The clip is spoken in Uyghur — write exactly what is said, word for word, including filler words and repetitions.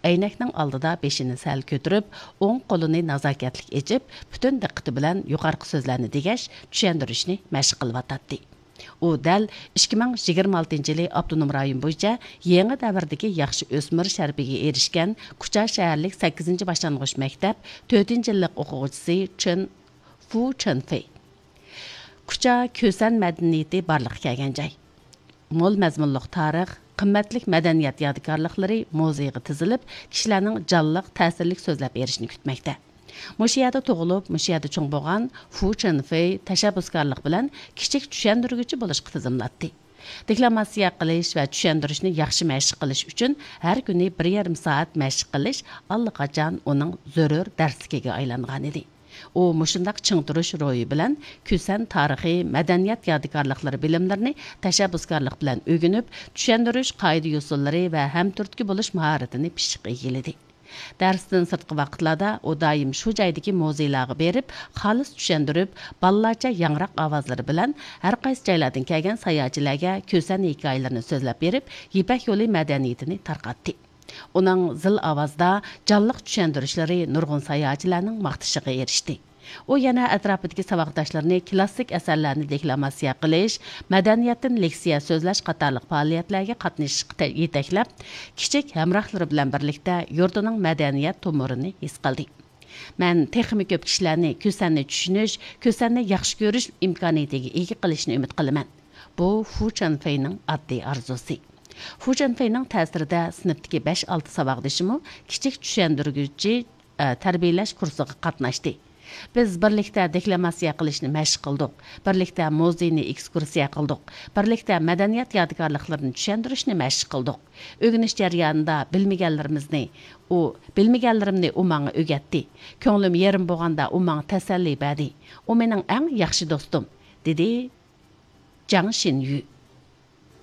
ئەينەكنىڭ ئالدىدا بېشىنى سەل كۆتۈرۈپ، ئوڭ قولىنى نازاكەتلىك ئېچىپ، پۈتۈن دىققىتى بىلەن يۇقىرىقى سۆزلەرنى دېگەچ، چۈشەندۈرۈشنى مەشىق قىلىۋاتاتتى. ئۇ دەل ئىككى مىڭ يىگىرمە ئالتىنچى يىلى ئاپتونوم رايون بويىچە يېڭى دەۋردىكى ياخشى ئۆسمۈر شەرىپىگە ئېرىشكەن كۇچا شەھەرلىك سەككىزىنچى باشلانغۇچ مەكتەپ تۆتىنچى يىللىق ئوقۇغۇچىسى چېن، فۇ چېنفېي. كۇچا كۈسەن مەدەنىيىتى بارلىققا كەلگەن جاي. مول مەزمۇنلۇق تارىخ، قىممەتلىك مەدەنىيەت يادىكارلىقلىرى مۇزېيغا تىزىلىپ، كىشىلەرنىڭ جانلىق، تەسىرلىك سۆزلەپ بېرىشىنى كۈتمەكتە. مۇشۇ يەردە تۇغۇلۇپ، مۇشۇ يەردە چوڭ بولغان فۇ چېنفېي تەشەببۇسكارلىق بىلەن كىچىك چۈشەندۈرگۈچى بولۇشقا تىزىملاتتى. دېكلاماتسىيە قىلىش ۋە چۈشەندۈرۈشنى ياخشى مەشىق قىلىش ئۈچۈن ھەر كۈنى بىر يېرىم سائەت مەشىق قىلىش ئاللىقاچان ئۇنىڭ زۆرۈر دەرسلىكىگە ئايلانغانىدى. ئۇ مۇشۇنداق چىڭ تۇرۇش روھى بىلەن كۈسەن تارىخىي، مەدەنىيەت يادىكارلىقلىرى بىلىملىرىنى تەشەببۇسكارلىق بىلەن ئۆگىنىپ، چۈشەندۈرۈش قائىدە-يوسۇنلىرى ۋە ھەمتۈرتكە بولۇش ماھارىتىنى پىششىق ئىگىلىدى. دەرستىن سىرتقى ۋاقىتلاردا ئۇ دائىم شۇ جايدىكى مۇزېيلارغا بېرىپ، خالىس چۈشەندۈرۈپ، بالىلارچە ياڭراق ئاۋازلىرى بىلەن ھەر قايسى جايلاردىن كەلگەن ساياھەتچىلەرگە كۈسەن ھېكايىلىرىنى سۆزلەپ بېرىپ، يىپەك يولى مەدەنىيىتىنى تارقاتتى. ئۇنىڭ زىل ئاۋازدا جانلىق چۈشەندۈرۈشلىرى نۇرغۇن ساياھەتچىلەرنىڭ ماختىشىغا ئېرىشتى. ئۇ يەنە ئەتراپىدىكى ساۋاقداشلىرىنى كىلاسسىك ئەسەرلەرنى دېكلاماتسىيە قىلىش، مەدەنىيەتتىن لېكسىيە سۆزلەش قاتارلىق پائالىيەتلەرگە قاتنىشىشقا تە-، يېتەكلەپ، كىچىك ھەمراھلىرى بىلەن بىرلىكتە يۇرتىنىڭ مەدەنىيەت تومۇرىنى ھېس قىلدى. مەن تېخىمۇ كۆپ كىشىلەرنى كۈسەننى چۈشىنىش، كۈسەننى ياخشى كۆرۈش ئىمكانىيىتىگە ئىگە قىلىشنى ئۈمىد قىلىمەن. بۇ فۇ چېنفېينىڭ ئاددىي ئارزۇسى. فۇ چېنفېينىڭ تەسىرىدە سىنىپتىكى بەش-ئالتە ساۋاقدىشىمۇ كىچىك چۈشەندۈرگۈچى، ئە، تەربىيەلەش كۇرسىغا قاتناشتى. بىز بىرلىكتە دېكلاماتسىيە قىلىشنى مەشىق قىلدۇق، بىرلىكتە مۇزېينى ئېكسكۇرسىيە قىلدۇق، بىرلىكتە مەدەنىيەت يادىكارلىقلىرىنى چۈشەندۈرۈشنى مەشىق قىلدۇق. ئۆگىنىش جەريانىدا بىلمىگەنلىرىمىزنى ئۇ، بىلمىگەنلىرىمنى ئۇ ماڭا ئۆگەتتى. كۆڭلۈم يېرىم بولغاندا ئۇ ماڭا تەسەللى بەردى. ئۇ مېنىڭ ئەڭ ياخشى دوستۇم، دېدى جاڭ شىنيۈ.